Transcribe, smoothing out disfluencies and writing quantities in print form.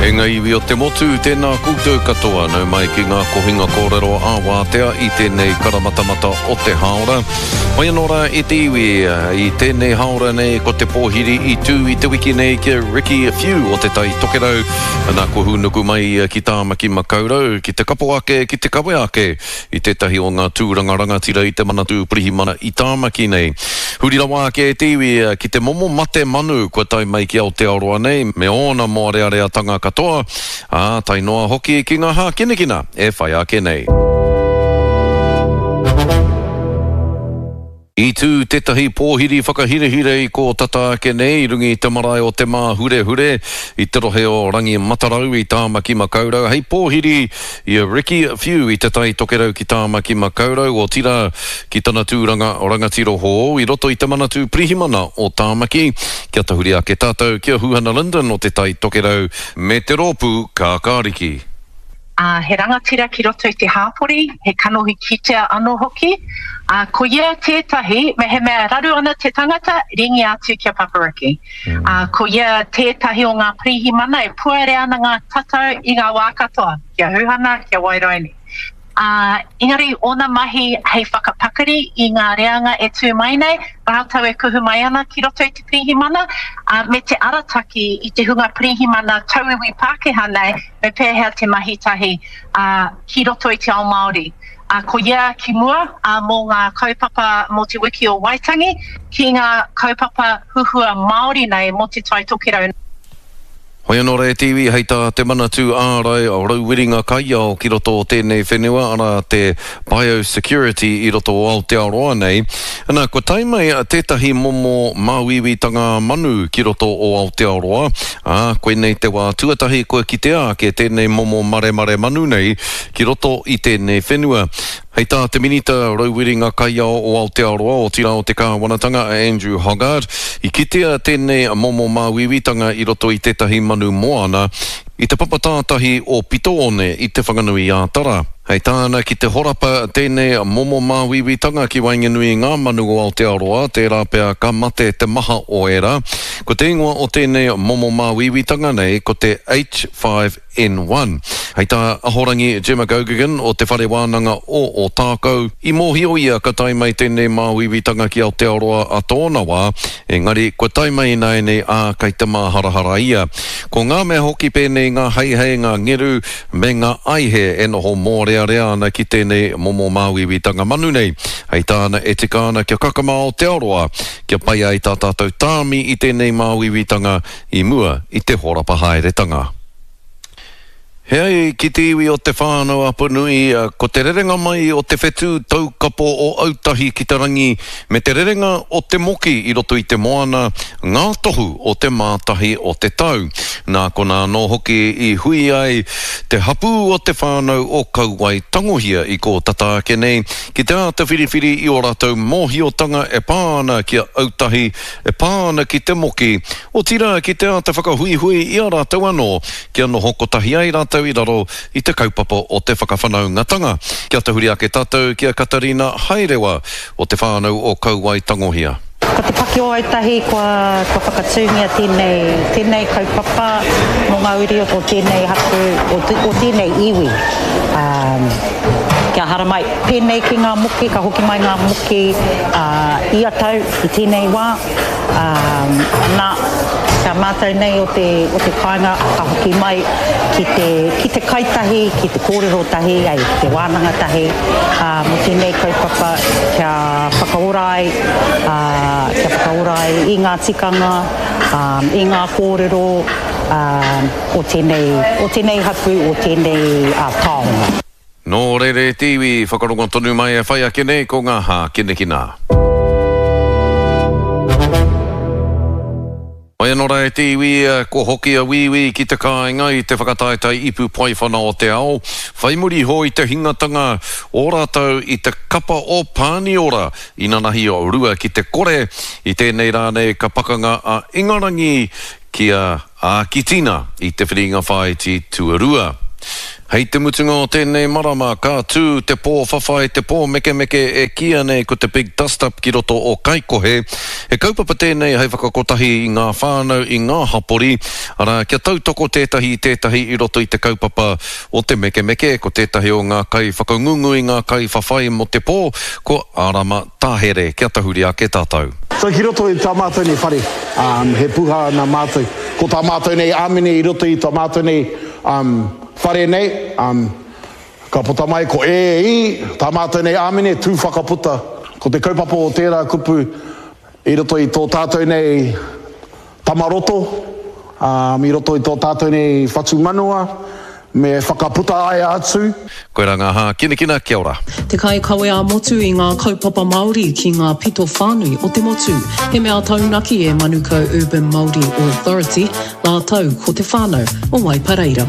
E ngā iwi o te motu, tēnā koutou katoa, nau mai ki ngā kohinga kōrero ā-wātea i tēnei karamatamata o te hāora. Mai anō rā e te iwi, i tēnei hāora nei ko te pōhiri i tū i te wiki nei ki a Ricky Whiu o Te Tai Tokerau, nā kua hūnuku mai ia ki Tāmaki Makaurau, ki te kapo ake, ki te kawe ake i tētahi o ngā tūranga rangatira i te Manatū Pirihimana i Tāmaki nei. Huri rawa ake e te iwi ki te momo mate manu kua tae mai ki Aotearoa nei me ōna mōreareatanga katoa, ā, tae noa hoki ki ngā hākinakina e whai ake nei. I tū tētahi pōhiri whakahirahira i kō tata ake nei i runga i te marae o Te Māhurehure i te rohe o Rangimatarau i Tāmaki Makaurau hei pōhiri i a Ricky Whiu i Te Tai Tokerau ki Tāmaki Makaurau, otirā ki tana tūranga rangatira hou i roto i te Manatū Pirihimana o Tāmaki. Kia tahuri ake tātou ki a Huhana Lyndon o Te Tai Tokerau me te rōpū Kākāriki. Ā, he rangatira ki roto i te hāpori, he kanohi kitea anō hoki. Ā, ko ia tētahi, mehemea raru ana te tangata, ringia atu ki a Papa Ricky. Ā, ko ia tētahi o ngā pirihimana e puare ana ngā tatau i ngā wā katoa, ki a Huhana, ki a Wairaini. Ā, engari ōna mahi hei whakapakari i ngā reanga e tū mai nei, rātou e kuhu mai ana ki roto i te pirihimana, ā, me te arataki i te hunga pirihimana tauiwi Pākehā nei, me pēhea te mahi tahi, ā, ki roto i te ao Māori. Ā, ko ia ki mua, ā, mō ngā kaupapa mō te Wiki o Waitangi, ki ngā kaupapa huhua Māori nei mō Te Tai Tokerau. Hoi anō rā e te iwi, hei tā te Manatū Ārai Rauwiringa Kaiao ki roto o tēnei whenua, arā te biosecurity i roto o Aotearoa nei, ana, kua tae mai tētahi momo māuiuitanga manu ki roto o Aotearoa, ā, koinei te wā tuatahi kua kitea ake tēnei momo maremare manu nei ki roto i tēnei whenua. Hei tā te Minita Rauwiringa Kaiao o Aotearoa, otirā o te Kāwanatanga a Andrew Hoggard, i kitea tēnei momo māuiuitanga i roto i tētahi manu moana i te papa tātahi o Pito-one i Te Whanganui-ā-Tara. Hei tāna, ki te horapa tēnei momo māuiuitanga ki waenganui i ngā manu o Aotearoa, tērā pea ka mate te maha o ērā. Ko te ingoa o tēnei momo māuiuitanga nei ko te H5 N1. Hei tā Ahorangi Gemma Geoghegan o Te Whare Wānanga o Ōtākou, i mōhio ia ka tae mai tēnei māuiuitanga ki Aotearoa a tōna wā, engari kua tae mai ināianei ā, kei te māharahara ia. Ko ngā mea hoki pēnei ngā heihei, ngā ngeru, me ngā aihe e noho mōrearea ana ki tēnei momo māuiuitanga manu nei. Hei tāna e tika ana kia kakama Aotearoa, kia pai ai tā tātou tāmi i tēnei māuiuitanga i mua i te horapa haeretanga. He ai ki te iwi o Te Whānau Apanui, ko te rerenga mai o te whetū taukapo o Autahi ki te rangi me te rerenga o te moki i roto i te moana ngā tohu o te mātahi o te tau. Nā konā anō hoki i hui ai te hapū o Te Whānau o Kauae Tangohia i kō tata ake nei ki te āta whiriwhiri i ō rātou mōhiotanga e pā ana ki a Autahi e pā ana ki te moki, otirā ki te āta whakahuihui i a rātou anō kia noho kotahi ai rātou i raro i te kaupapa o te whakawhanaungatanga. Kia tahuri ake tātou ki a Katarina Haerewa o te whānau o Kauae Tangohia. Ko Te Paki o Autahi kua kua whakatūngia tēnei tēnei kaupapa mō ngā uri o tēnei hapū o o tēnei iwi ā kia haramai pēnei ki ngā moki ka hoki mai ngā moki ā ia tau I tēnei wā, ā, nā, kia mātau nei o te, o te kāinga ka hoki mai ki te, ki te kai tahi, ki te kōrero tahi, ai, ki te wānanga tahi, ā, mō tēnei kaupapa kia whakaora ai, ā, kia whakaora ai i ngā tikanga, ā, i ngā kōrero, ā, o tēnei, o tēnei hapū, o tēnei, ā, taonga. Nō reira e te iwi, whakarongo tonu mai e whai ake nei ko ngā hākinakina. Mai anō rā e te iwi, kua hoki a Wīwī ki te kāinga i te whakataetae ipu paewhana o te ao, whai muri iho i te hingatanga o rātou i te kapa o Pāniora inanahi 2-0. I tēnei rā nei ka pakanga a Ingarangi ki a Ākitina i te whiringa whāiti tuarua. Hei te mutunga o tēnei marama, ka tū te pō whawhai, te pō mekemeke e kīia nei ko te Big Dust Up ki roto o Kaikohe. He kaupapa tēnei hei whakakotahi i ngā whānau, i ngā hapori, arā, kia tautoko tētahi i tētahi i roto i te kaupapa o te mekemeke. Ko tētahi o ngā kaiwhakangungu i ngā kaiwhawhai mō te pō, ko Arama Tahere. Kia tahuri ake tātou. So ki roto i tā mātou nei whare, he puha nā mātou. Ko tā mātou nei āmine i roto i tā mātou nei Whare nei, um, ka puta mai ko e, i, tā mātou nei āmine, tū whakaputa. Ko te kaupapa o tērā kupu i roto i tō tātou nei tamaroto, um, i roto i tō tātou nei whatumanawa, me whakaputa aia atu. Koirā ngā hākinakina, kia ora. Te kaikawe ā-motu i ngā kaupapa Māori ki ngā pito whānui o te motu. He mea taunaki e Manukau Urban Māori Authority, rātou ko te whānau o Waipareira.